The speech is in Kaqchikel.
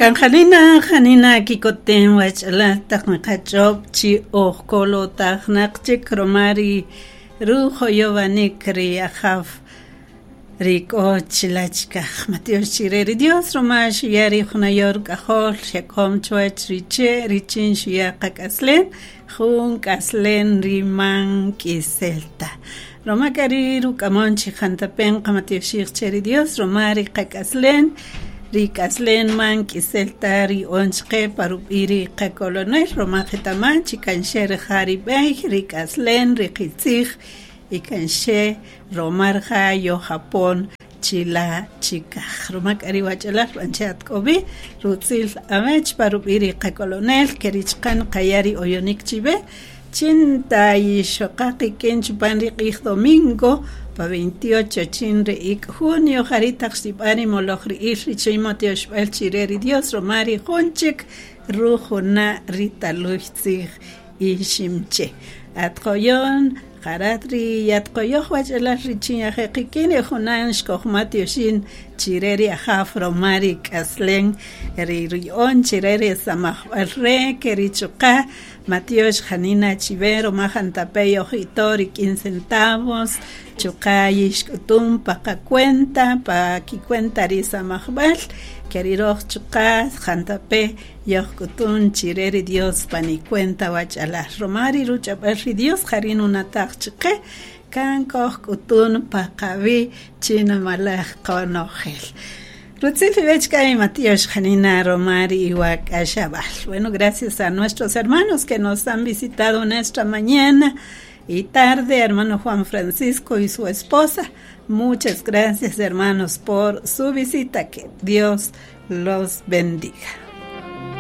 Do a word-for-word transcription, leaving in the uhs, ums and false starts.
Kan janina janina kikoten wach'alal taq niqach'ob' chi oj kolotajnaq chik roma ri rujoyowanik ri Ajaw ri k'o chila' chikaj. Matiox chire ri Dios roma xuya' ri junayor k'ajol xekom chuwach ri che' richin xuya' qak'aslen jun k'aslen ri man k'isel ta. Roma k'a ri ruk'amon chi jantape' qamatioxij che ri Dios roma ri qak'aslen ri k'aslen man k'isel ta ri on chqe pa rub'i' ri qakolonel roma qetaman chi kan xe rija' ri b'ey ri k'aslen ri qitzij y kan xe roma rija' yojapon chila' chikaj. Roma k'a ri wach'alal b'anche atk'obi rutzil awech pa rub'i' ri qakolonel kerichqan qaya' ri oyonik chiwe chin ta yixoqa qikin chupan ri q'ij domingo pa veintiocho chin ri ik' junio jari' taq xtib'an ri moloj ri'il richin matioxb'al chire ri Dios roma ri jun chik rujuna' ri taluy tzij iximche. Atqoyon jarat ri yatqoyoj wach'alal richin yajeqikin ri junan xkojmatioxin chire ri Ajaw roma ri k'aslen ri ri'on chire ri samajb'al re kerichuqa matiox janina chiwe roma jantape yojito rik'in centavos chuqa yixk'utun pa qacuenta pa kicuenta ri samajb'al keriroj chuqa jantape yojk'utun chire ri Dios pa nicuenta wach'alal roma ri ruch'ab'al ri Dios jari nunataj chqe kan kojk'utun pa qawi' chinamalaj qonojel. Rutzil iwech k'ay Matiox janina roma ri iwak'axab'al. Bueno, gracias a nuestros hermanos que nos han visitado en esta mañana y tarde, hermano Juan Francisco y su esposa. Muchas gracias, hermanos, por su visita. Que Dios los bendiga.